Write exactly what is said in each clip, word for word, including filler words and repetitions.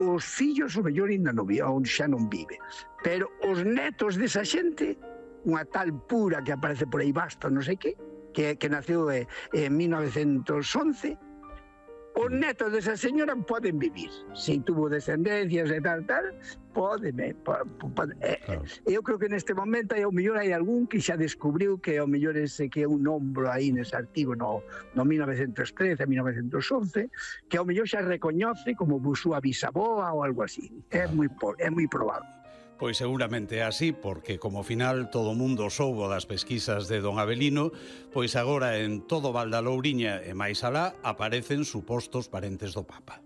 os fillos o mellor ainda non vive, ou xa non vive, pero os netos desa xente, unha tal Pura que aparece por aí Basto, non sei que, que, que naceu eh, en mil novecientos once, os netos desa señora poden vivir. Se tuvo descendencias e tal, tal, poden. Pode, eh, claro. Eu creo que neste momento ao mellor hai algún que xa descubriu que ao mellor ese que é un nombro aí nese artigo no, no mil novecientos trece, mil novecientos once, que ao mellor xa recoñece como súa bisaboa ou algo así. É moi, é moi probable. Pois seguramente é así, porque como final todo o mundo soubo das pesquisas de don Avelino, pois agora en todo Val da Louriña e máis alá aparecen supostos parentes do Papa.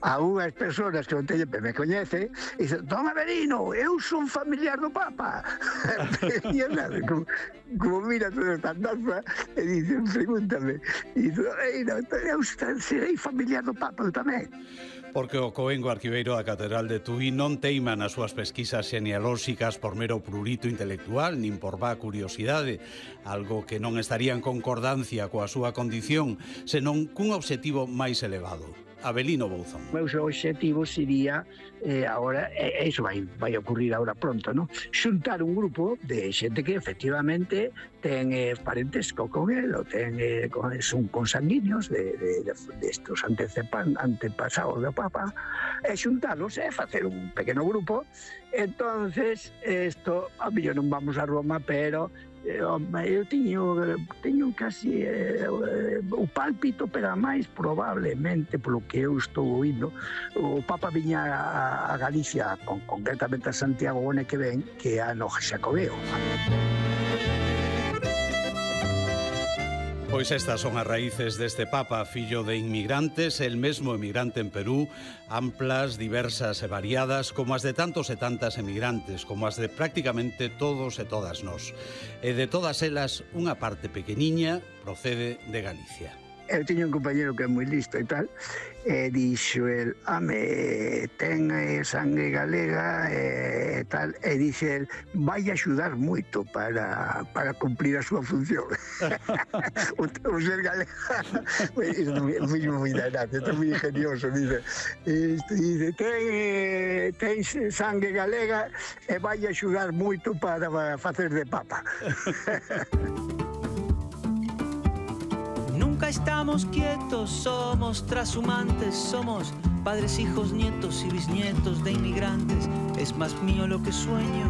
A unhas persoas que o teño me coñece e dicen, don Avelino, eu son familiar do Papa. E eu nada, como, como mira toda esta andanza e dicen, pregúntame, e dicen, eu serei familiar do Papa eu tamén. Porque o coengo arquiveiro da Catedral de Tui non teima nas súas pesquisas genealóxicas por mero prurito intelectual, nin por vá curiosidade, algo que non estaría en concordancia coa súa condición, senón cun obxectivo máis elevado. Avelino Bouzón. O meu obxectivo sería, eh, agora, e eh, iso vai, vai ocurrir agora pronto, ¿no? Xuntar un grupo de xente que efectivamente ten eh, parentes co con el, ou ten, eh, con, son consanguíneos de, de, de, de estos antecepan, antepasados do Papa, e xuntarlos e eh, facer un pequeno grupo. Entonces, isto, a millón non vamos a Roma, pero eu teño, teño casi eh, o pálpito, pero máis probablemente, polo que eu estou oindo, o Papa viña a, a Galicia, con, concretamente a Santiago o ano que ven, que é ano Xacobeo. Pois estas son as raíces deste Papa, fillo de inmigrantes, el mesmo emigrante en Perú, amplas, diversas e variadas, como as de tantos e tantas emigrantes, como as de prácticamente todos e todas nós. E de todas elas, unha parte pequeniña procede de Galicia. Eu teño un compañero que é moi listo e tal, e dixo el, ame, ten sangue galega e tal, e dixe el, vai axudar moito para, para cumplir a súa función. o, o ser galega, isto é moi moi danado, isto é moi ingenioso, dice, dice, ten, ten sangue galega e vai axudar moito para facer de Papa. Nunca estamos quietos, somos trashumantes, somos padres, hijos, nietos y bisnietos de inmigrantes. Es más mío lo que sueño